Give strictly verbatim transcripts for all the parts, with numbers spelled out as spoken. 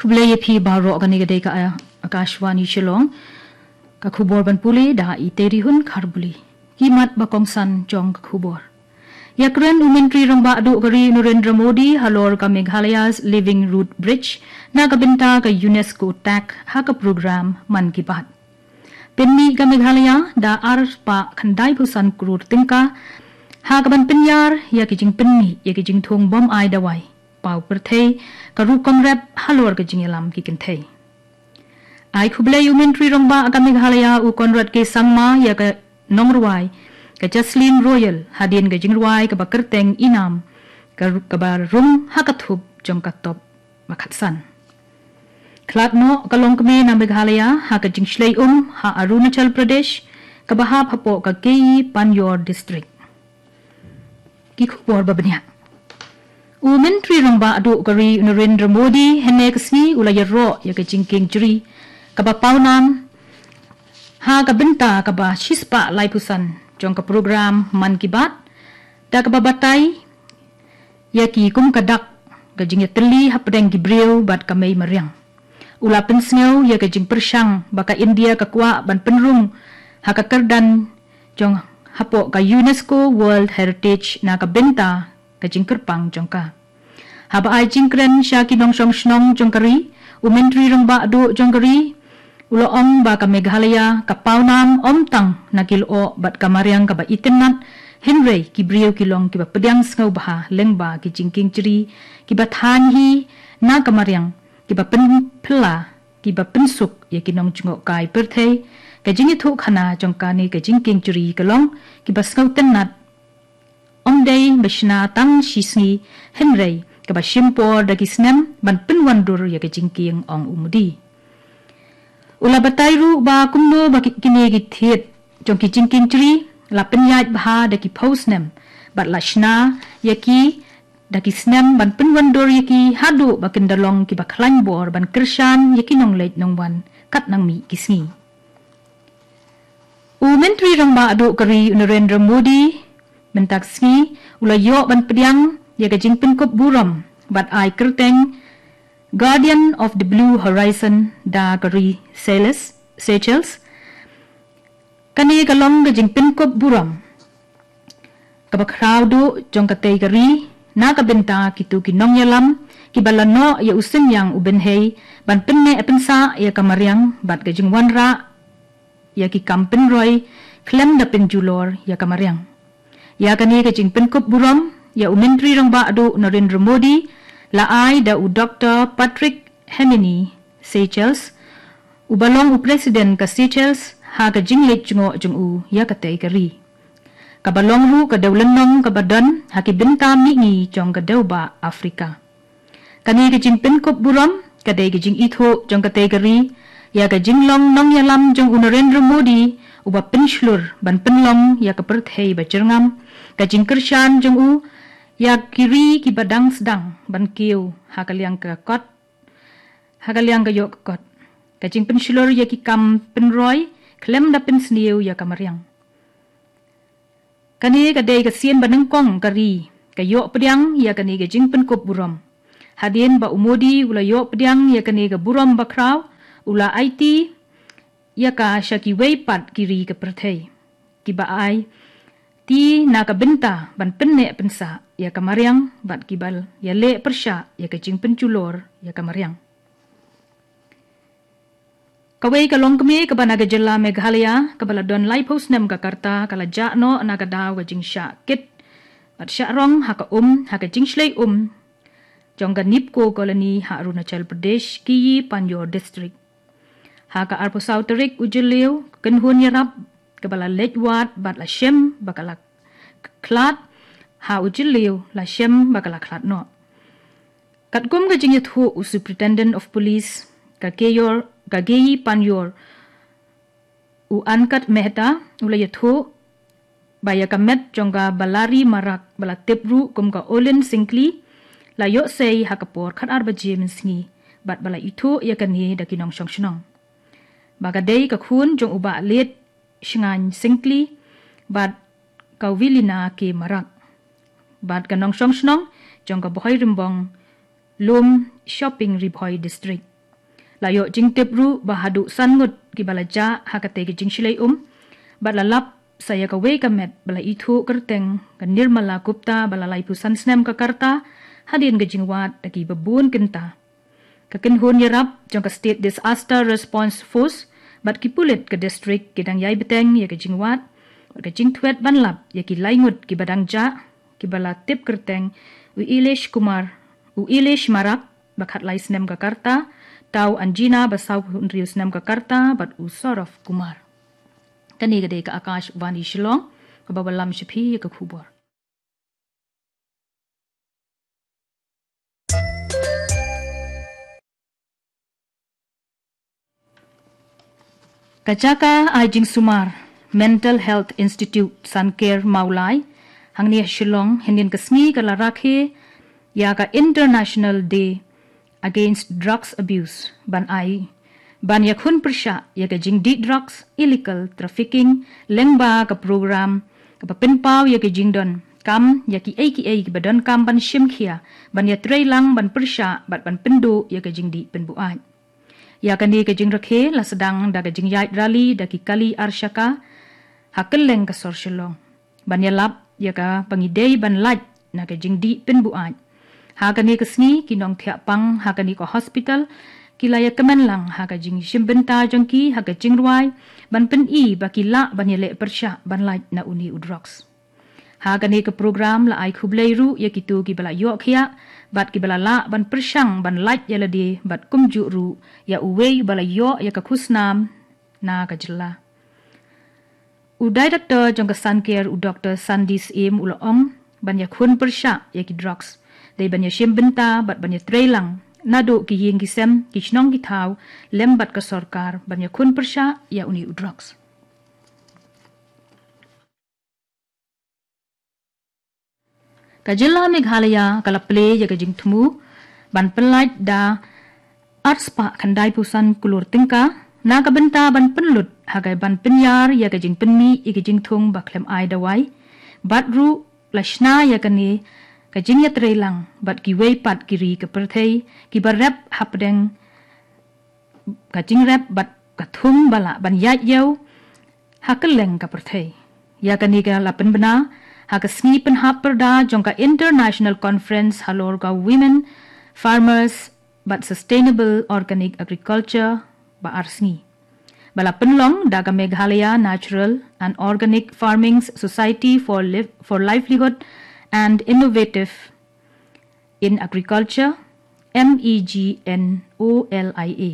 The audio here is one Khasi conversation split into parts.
Khublei ïa phi baroh, kane ka dei ka Akashvani Shillong. Ka khubor ban pule da i Terihun Kharbuli. Ki mat ba kongsan jong ka khubor. Ïakren u Myntri Rangbah Duh ka ri Narendra Modi halor ka Meghalaya's Living Root Bridge na ka bynta ka UNESCO tag ha ka program Mann Ki Baat. Pynmih ka Meghalaya da ar spah khyndai phew san klur tyngka ha ka ban pynïar ïa ki jingpynmih ïa ki jingthung bym ai dawai, paw pyrthei, ka rukom rep halor ka jingïalam ki kynthei. Ai khublei u Myntri Rangbah ka Meghalaya u Conrad K Sangma ïa ka nongrwai ka Jaslyn Royal hadien ka jingrwai kaba kyrteng Inam, ka ru-, kaba rung ha ka thup jong ka top ba khatsan. Khlad noh ka longkmie na Meghalaya ha ka jingshlei um ha Arunachal Pradesh, kaba hap hapoh ka Keyi Panyor District. Ki khubor ba bniah. U Myntri Rangbah Duh ka ri u Narendra Modi hynne ka sngi u la ïaroh ïa ka jingkieng jri kaba pawnam ha ka bynta kaba shispah laiphew san jong ka program Mann Ki Baat, da kaba batai ïa ki kum ka dak ka jingïatylli hapdeng ki briew bad ka mei mariang. U la pynsngew ïa ka jingpyrshang ba ka India ka kwah ban pynrung ha ka kyrdan jong hapoh ka UNESCO World Heritage na ka bynta ka jingkyrpang jong ka. Haba ai jingkren sha ki nongshong shnong jong ka ri, u Myntri Rangbah Duh jong ka ri u la ong ba ka Meghalaya ka pawnam ym tang na ki lyoh bad ka mariang kaba itynnat, hynrei ki briew ki long kiba pdiang sngewbha lyngba ki jingkieng jri kiba thaiñ hi na ka mariang, kiba pynphylla, kiba pynsuk ïa ki nongjngohkai pyrthei. Ka jingïathuhkhana jong kane ka jingkieng jri ka long kiba sngewtynnat, ym dei ba shna tang shi sngi, hynrei kaba shim por da ki snem ban pynwandur ïa ka jingkieng, ong u Modi. U la batai ruh ba kumno ba ki, kine ki thied jong ki jingkieng jri la pynïaid bha da ki phew snem bad la shna ïa ki da ki snem ban pynwandur ïa ki haduh ba kin da long kiba khlaiñ bor ban kyrshan ïa ki nongleit nongwan katba nang mih ki sngi. U Myntri Rangbah Duh ka ri u Narendra Modi mynta ka sngi u la ïoh ban pdiang ïa ka jingpynkup burom bad ai kyrteng Guardian of the Blue Horizon da ka ri Seychelles, Seychelles. Kane ka long ka jingpynkup burom kaba khraw duh jong katei ka ri na ka bynta kito ki nongïalam kiba la noh ïa u synñiang u bynhei ban pynneh pynsah ïa ka mariang bad ka jingwanrah ïa ki kam pynroi khlem da pynjulor ïa ka mariang. Ïa kane ka jingpynkup burom ïa u Myntri Rangbah Duh Narendra Modi la ai da u Doktor Patrick Herminie Seychelles, uba long u President ka Seychelles, ha ka jingleit jngoh jong u ïa katei ka ri, kaba long ruh ka dewlynnong kaba don ha ki bynta mihngi jong ka dewbah Afrika. Kane ka jingpynkup burom ka dei ka jingithuh jong katei ka ri ïa ka jinglong nongïalam jong u Narendra Modi, uba pynshlur ban pynlong ïa ka pyrthei ba jyrngam, ka jingkyrshan jong u ïa ki ri kiba dang sdang ban kiew ha ka liang ka kot, ha ka liang ka ïoh ka kot, ka jingpynshlur ïa ki kam pynroi khlem da pynsniew ïa ka mariang. Kane ka dei ka sien ba nyngkong ka ri ka ïoh pdiang ïa kane ka jingpynkup burom. Hadien ba u Modi u la ïoh pdiang ïa kane ka burom ba khraw, u la aiti ïa ka sha kiwei pat ki ri ka pyrthei kiba aiti na ka bynta ban pynneh pynsah ïa ka mariang bad kiba ïaleh pyrshah ïa ka jingpynjulor ïa ka mariang. Kawei ka longkmie kaba na ka jylla Meghalaya kaba la don laiphew snem ka rta ka la jah noh na ka daw ka jingshah kit bad shah rong ha ka um, ha ka jingshlei um jong ka NEEPCO Colony ha Arunachal Pradesh, Keyi Panyor District. Ha ka arphew saw tarik u Jylliew, ka kynhun ïarap kaba la leit wad bad la shem ba ka la khlad, ha u Jylliew la shem ba ka la khlad noh. Katkum ka jingïathuh u Superintendent of Police ka Keyor, ka Keyi Panyor, u Ankit Mehta, u la ïathuh ba ïa ka met jong ka Balari Marak ba la tip ruh kum ka Olin Syngkli la ïoh sei ha ka por khatar baje mynsngi bad ba la ithuh ïa kane da ki nongshong shnong ba ka dei ka khun jong u Bah Late Shngain Syngkli bad ka Wilina K Marak bad ka nongshong shnong jong ka Bhoirymbong Lum Shopping, Ri Bhoi District. La ïoh jingtip ruh ba haduh san ngut kiba la jah ha katei ka jingshlei um, bad la lap sa ïa kawei ka met ba la ithuh kyrteng ka Nirmala Gupta ba la laiphew san snem ka rta, hadien ka jingwad da kiba bun kynta. Ka kynhun ïarap jong ka State Disaster Response Force bad ki pulit ka district ki dang ïai bteng ïa ka jingwad bad ka jingthwet ban lap ïa ki lai ngut kiba dang jah, kiba la tip kyrteng u Ilesh Kumar, u Ilesh Marak, ba khatlai snem ka rta, Tau Anjina ba sawphew hynriew snem ka rta, bad u Saurav Kumar. Kane ka dei ka Akashvani Shillong, kaba wallam sha phi ïa ka khubor. Ka jaka ai jingsumar Mental Health Institute Sanker Mawlai hangne ha Shillong, hynnin ka sngi ka la rakhe ïa ka International Day Against Drugs Abuse, ban ai, ban ïakhun pyrshah ïa ka jingdih drugs, illegal trafficking, lyngba ka program kaba pynpaw ïa ka jingdon kam ïa kiei kiei kiba donkam ban shim khia, ban ïatreilang, ban pyrshah bad ban pynduh ïa ka jingdih pynbuaid. Ïa kane ka jingrakhe la sdang da ka jingïaid rally da ki kali arshaka ha kylleng ka sor Shillong, ban ïalap ïa kaba ngi dei ban lait na ka jingdih pynbuaid. Ha kane ka sngi ki nongthiah pang ha kane ka hospital ki la ïakmen lang ha ka jingshim bynta jong ki ha ka jingrwai, ban pyni ba ki lah ban ïaleh pyrshah ban lait na une u drugs. Ha kane ka program la ai khublei ruh ïa kito kiba la ïoh khiah bad kiba la lah ban pyrshang ban lait ïa lade, bad kumjuh ruh ïa uwei ba la ïoh ïa ka khusnam na ka jylla. U Director jong ka Sanker, u Doktor Sandy Syiem, u la ong, ban ïakhun pyrshah ïa ki drugs dei ban ïashim bynta bad ban ïatreilang naduh ki ïing ki sem, ki shnong ki thaw, lem bad ka sorkar ban ïakhun pyrshah ïa une u drugs. Ka jylla Meghalaya ka la plie ïa ka jingthmu ban pynlait da arspah khyndai phew san klur tyngka na ka bynta ban pynlut ha ka ban pynïar ïa ka jingpynmih ïa ka jingthung ba khlem ai dawai, bad ruh la shna ïa kane ka jingïatreilang bad kiwei pat ki ri ka pyrthei kiba rep hapdeng ka jingrep bad ka thung ba lah ban ïaid ïew ha kylleng ka pyrthei. Ïa kane ka la pynbna ha ka sngi pynhap pyrda jong ka International Conference halor ka Women Farmers bad Sustainable Organic Agriculture ba ar sngi, ba la pynlong da ka Meghalaya Natural and Organic Farming Society for Liv-, for Livelihood and Innovative in Agriculture, M E G N O L I A,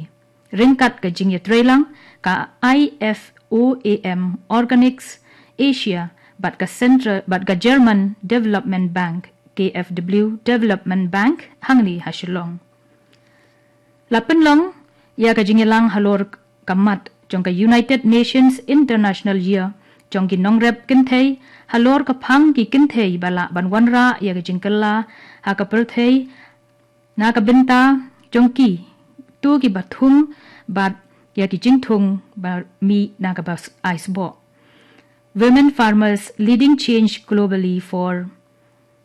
ryngkat ka jingïatreilang ka I F O A M Organics Asia bad ka Central, bad ka German Development Bank, K F W Development Bank, hangne ha Shillong. La pynlong ïa ka jingïalang halor ka mat jong ka United Nations International Year jong ki nongrep kynthei halor ka phang ki kynthei ba lah ban wanrah ïa ka jingkylla ha ka pyrthei na ka bynta jong ki, to kiba thung bad ïa ki jingthung ba mih na kaba ai sboh. Women farmers leading change globally for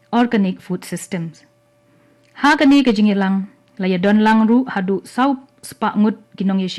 organic food systems. Ha kane ka jingïalang la ïadon lang ruh haduh saw spah ngut ki nongïashim